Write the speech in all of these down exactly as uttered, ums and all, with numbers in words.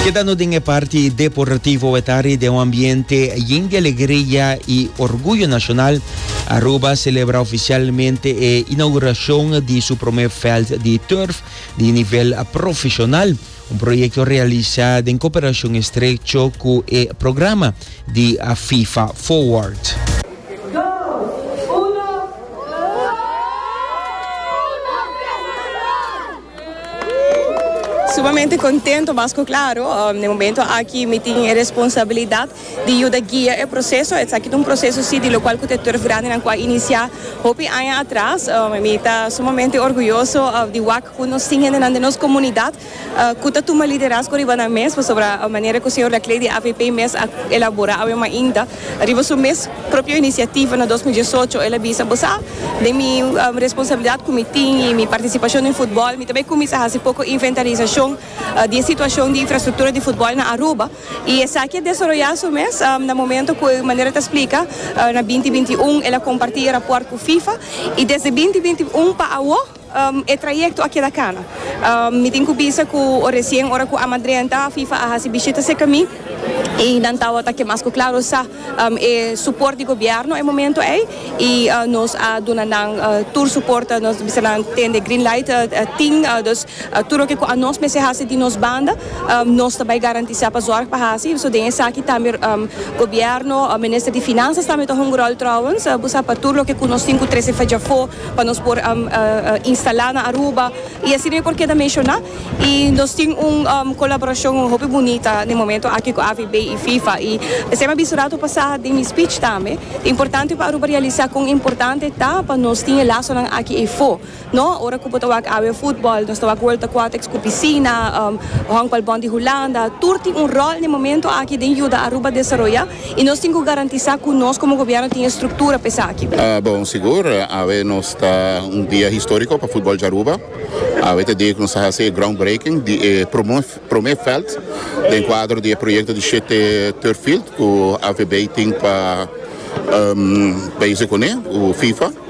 Kedando den parti deportivo etari den un ambiente yen di alegria y orguyo nacional, Aruba a celebra oficialmente e inauguracion di su prome veld di turf di nivel profesional, un proyecto realisa den cooperacion estrecho cu e programa di FIFA Forward. Dos, uno. Sumamente contento, mas claro, um, na momento aki mi tin e responsabilidad di yuda guia e proceso. Esaki ta un proceso si, di locual cu turf grandi nan a inicia hopi aña atras. Um, mi ta sumamente orguyoso uh, di wak cu nos tin den nos comunidad uh, cu ta tuma liderazgo riba nan mes, sobre e manera cu señor Laclé di A V P mes a elabora ainda riba su mes propio iniciativa na dos mil diesocho. El a bisa: "Bo sa, di mi um, responsabilidad cu mi tin y mi participacion den futbol, mi tambe cuminsa haci poco inventarisacion uh, di situacion di infrastructura di futbol na Aruba." Y esaki a desaroya su mes um, na momento cu, manera ta splica, uh, na dos mil binti un el a comparti e rapport cu FIFA y desde dos mil binti un pa awo um, e trayecto aki a cana. Um, mi tin cu bisa cu recien, ora cu a drenta, FIFA a hasi bishita cerca mi y nan tawata ke mas cu claro sa um, e suporte di gobierno e momento ey y uh, nos a duna nan uh, tur suporte. Nos bisa nan tende green light uh, uh, tin uh, dus uh, tur loke nos mester hasi di nos banda, um, nos tambe garantisa pa zorg pa hasi. So den esaki tambe um, gobierno, uh, minister di Finanzas tambe ta un rol trouwens, uh, bo pa tur loke nos tin cu trece afo pa nos por um, uh, uh, instala na Aruba y asina por keda menciona. Y nos tin un um, colaboracion hopi bunita na momento aki cu A V B y FIFA y semper bisa rato pasa den mi speech tambe, importante pa Aruba realisa con importante ta pa nos tin lasonan aki afo, no? Ora cu bo ta wak awe futbol, nos ta wak World Aquatics cu piscina, um, Honkbalbond di Hulanda, tur tin un rol na momento aki den yuda Aruba desaroya y nos tin cu garantisa cu nos como gobierno tin structura pa esaki. Uh, bon, sigur, awe nos ta un dia historico pa futbol di Aruba. Awe ta dia cu nos ta haci groundbreaking di eh, prome veld den cuadro di proyecto di shete turf field cu A V B tin pa um, pais cu e FIFA.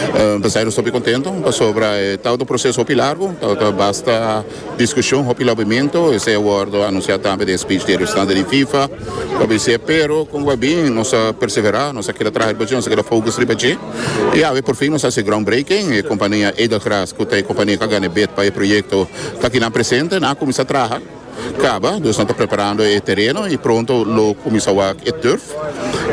Uh, Pesey nos ta contento pasobra ta un proceso hopi largo, ta basta discusion, hopi lobbyamento, esey a wordo anuncia tambe den speech di restante di FIFA, pero con bin, nos a persevera, nos a keda traha, nos a keda focus riba dje. Y awe por fin nos a haci groundbreaking, e compania Edelgras, cu ta e compania cu a gana bid pa e proyecto, ta aki nan presente, nan a cuminsa traha caba, dus nan ta preparando e tereno y pronto lo cuminsa e turf.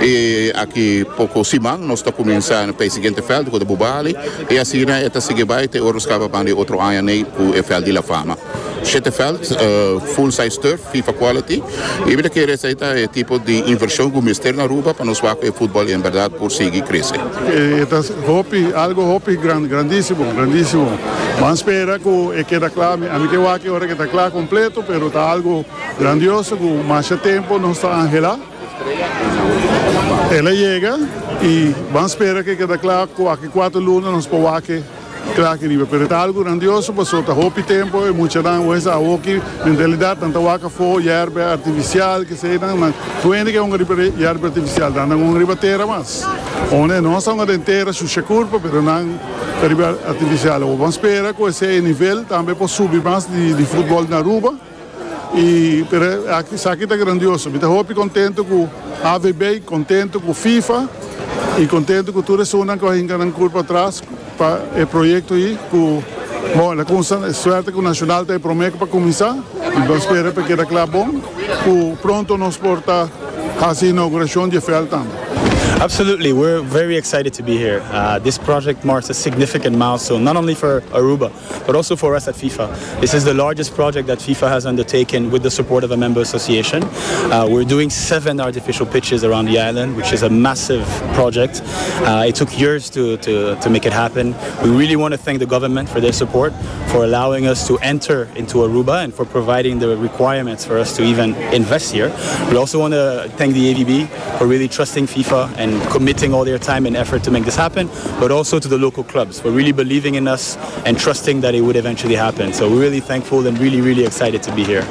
Y aki poco siman nos ta cuminsa pa e siguiente veld, cu ta Bubali, y asina ta sigui bay te ora caba pa otro aña cu e veld di La Fama. Shete veld, uh, full size turf, FIFA quality. Y mi kier esey ta e tipo di inversion cu mester na Aruba pa nos e futbol en berdad por sigui crece. Eh, hopi, algo hopi grand, grandisimo, grandisimo. Ban spera cu e keda cla, ami kier wak ora cu ta cla completo, pero ta algo grandioso cu mas tempo nos ta anhela. El a yega y ban spera cu keda cla cu aki cuater luna nos por cla aki riba, pero ta algo grandioso, paso ta hopi tempo y mucha nan wesa awoki mentalidad nan ta wak afo yerba artificial cu sea nan nan tuende cu un riba yerba artificial dan un riba tera mas. Unda nos un den tera su curpa, pero nan riba artificial. O ban spera cu e nivel tambe por subi mas di, di futbol na Aruba. Y pero aki esaki ta grandioso. Mi ta hopi contento cu A V B, contento cu FIFA y contento cu tur esnan cu a hinca nan curpa atras pa e proyecto ey cu, bon, e suerte cu Nacional ta prome pa cuminsa y ban spera pa keda cla bon cu pronto nos por ta haci inauguracion di veld tambe. Absolutely, we're very excited to be here. Uh, this project marks a significant milestone, not only for Aruba, but also for us at FIFA. This is the largest project that FIFA has undertaken with the support of a member association. Uh, we're doing seven artificial pitches around the island, which is a massive project. Uh, it took years to, to, to make it happen. We really want to thank the government for their support, for allowing us to enter into Aruba and for providing the requirements for us to even invest here. We also want to thank the A V B for really trusting FIFA and committing all their time and effort to make this happen, but also to the local clubs for really believing in us and trusting that it would eventually happen. So we're really thankful and really, really excited to be here.